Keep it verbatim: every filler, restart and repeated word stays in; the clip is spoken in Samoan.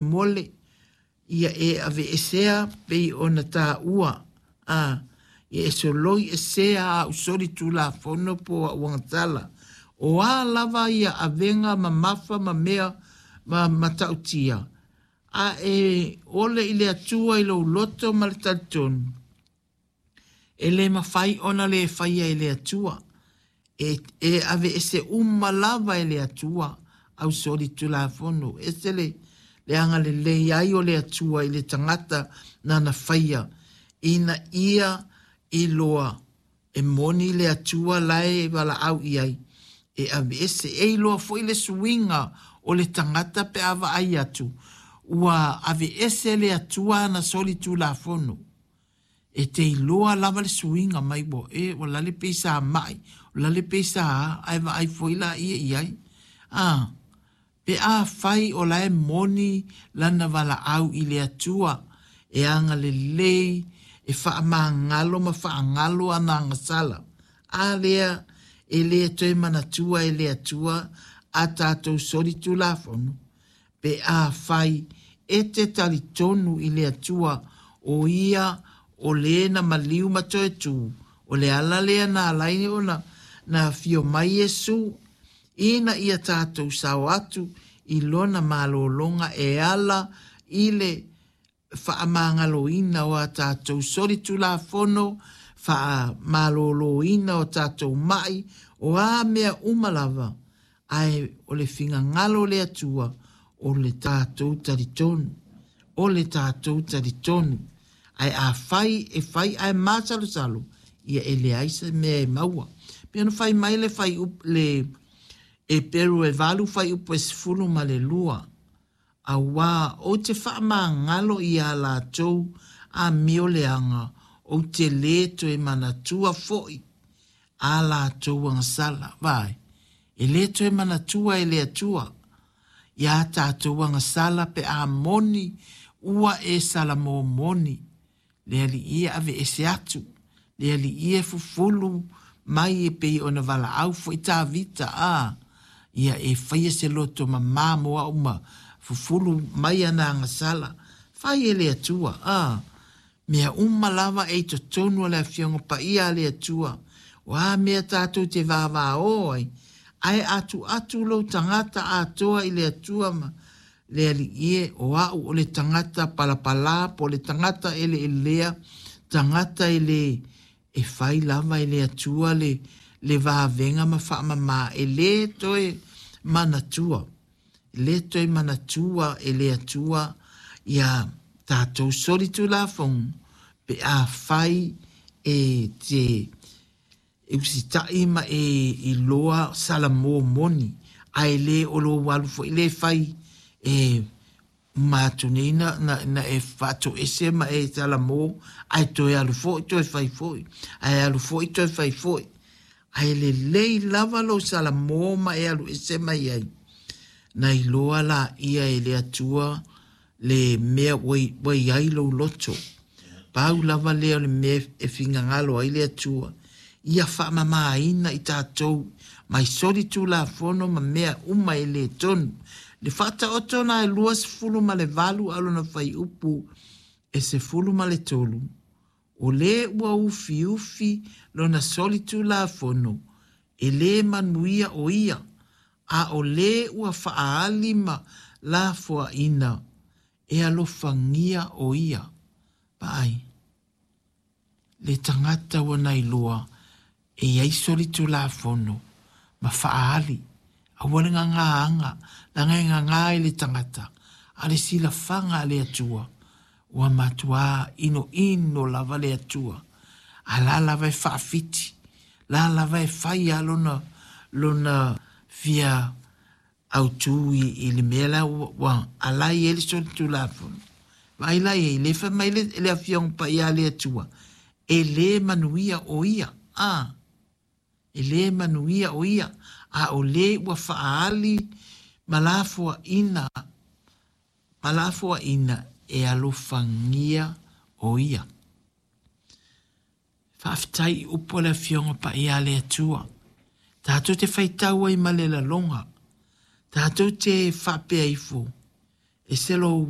Mole ia e aveesea pei ona taua a ia e soloi esea au solitulafono po o au agasala. O a lava ia avega mamafa ma mea ma matautia, a e ole i le Atua i lou loto ma le talitonu, e le mafai ona le faia e le Atua. E, e aveese uma lava e le Atua au solitulafono. Ese le, le agalelei ai o le Atua i le tagata nana faia, ina ia iloa e moni le Atua lae valaau i ai e aveese. E iloa foi le suiga o le tagata pe a vaai atu ua aveese le Atua ana solitulafono. E te iloa lava le suiga mai ua e ua lale pei sa mai, ua lale pei sa a, ae vaai foi laia i ai. Ah, pe afai o la e moni lana valaau i le Atua, e agalelei, e faamagalo ma faagalo ana agasala. A lea e le toe manatua e le Atua a tatou solitulafono, pe afai e te talitonu i le Atua o ia o le na maliu ma toe tu, o le ala lea na ala ai ona na afio mai Iesu, ina ia tatou sao atu i lona malologa e ala i le faamagaloina o a tatou solitulafono, faamaloloina o tatou mai, o a mea uma lava, ae o le finagalo o le Atua, o le tatou talitonu, o le tatou talitonu. Ae afai e fai ae masalosalo, ia e leai se mea e maua. Pe ona fai mai le fai up, le Eperu e valu fuaiupu e sefulu ma le lua, auā ou te faamagalo iā latou amio leaga, ou te lē toe manatua fo'i a latou agasala. Vaai, e lē toe manatua e le Atua iā tatou agasala pe a moni ua e salamo moni. Le Alii e aveese atu, le Alii e fufulu mai e pei ona valaau fo'i Tavita, a ia e faia se loto mamā mo a'u ma fufulu mai ana agasala. Fai e le Atua, a mea uma lava e i totonu o le Afioga Paia a le Atua. O a mea tatou te vavao ai, ae atuatu lou tagata atoa i le Atua ma le Alii e, o a'u o le tagata palapalā po o le tagata eleelea, tagata e le e fai lava e le Atua le, le vavega ma faamamā, e lē toe manatua, e lē toe manatua e le Atua ia tatou solitulafono pe afai e te e usita'i ma e iloa salamo moni, ae lē o lou alu foi lē fai e uma atu nei na, na, na e faatoese ma e salamo, ae toe alu fo'i toe fai fo'i, ae alu fo'i toe fai fo'i. Ae lelei lava lou salamo ma e alu ese mai ai. Na iloa laia e le Atua le mea ua ua i ai lou loto. Pau lava lea o le mea e finagalo ai le Atua, ia faamamāina i tatou mai solitulafono ma mea uma e lē tonu. Le faataoto na e luasefulu ma le valu a lona fuaiupu e sefulu ma le tolu, o lē ua ufiufi lona solitulafono, e lē manuia o ia, a o lē ua faaali ma lafoaina, e alofagia o ia. Vaai, le tagata ua nailoa e i ai solitulafono ma faaali, aua le gagāaga, leaga e gagā i le tagata, a o le silafaga a le Atua, ua matuā inoino lava le Atua. A la lava e faafiti, la lava e fai a lona, lona fia autū i, i le mea la ua, ua ala i ai le solitulafono. Vaai la i ai, le fai mai le, le Afioga Paia a le Atua, e lē manuia o ia, a, e lē manuia o ia, a o lē ua faaali ma lafoaina, ma lafoaina e alofagia o ia. Faafetai i upu a le Afioga Paia a le Atua. Tatou te faitau ai ma le laloga. Tatou te faapea ifo, e se lou